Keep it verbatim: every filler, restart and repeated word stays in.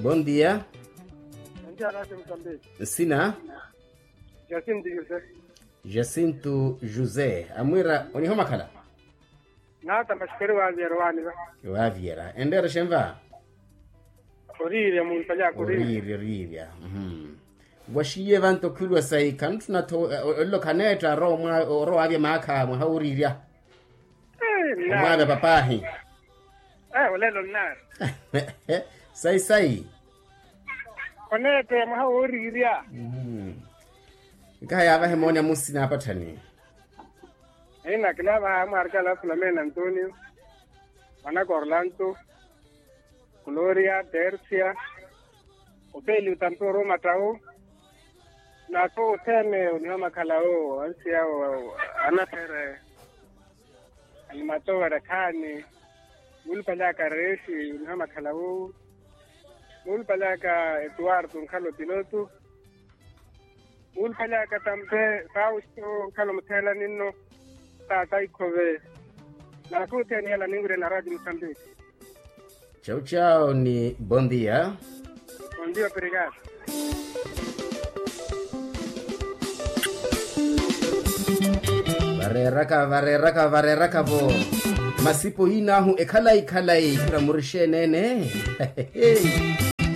Bondia. Nsina. Jacinto josé. Amwira onihomakhala? Nata mashikeri waaviyera waaniva. Waaviyera enreera xenva? Oriirya muntalyaka oriirya. Oriirya. Waxiye vanto khwiiriwa sayi khanutthuna tho. Olelo khaneetta orowa waavya maakha mwaha wooriirya. Omwaavya papaahi. Olelo nnaari. Sayi sayi. Oneettaya mwaha wooriirya. Nkaha yaavahe mooni amusina apatthani. Eina kinaavaha amwaarikala filomena antonio, mwanaka orlanto, gloria tersia, opeli utampi oromattawu. Naathu othene onihomakhalawo ansiyawo, anathere, animatowa rakhaani. Muuluphalyaka reesi onihomakhalawo. Muuluphalyaka etuwarto nkhala opiloto. Muuluphalyaka tampe fausto nkhala omutheela ninno. Taata ikhove. Naathu othene yala ninwirya na radio musambiki. Chau chau ni bondia. Bondia operikari. Vareeraka vareeraka vareeraka vo. Masipo yinaahu ekhalayi khalayi khira murixeenene.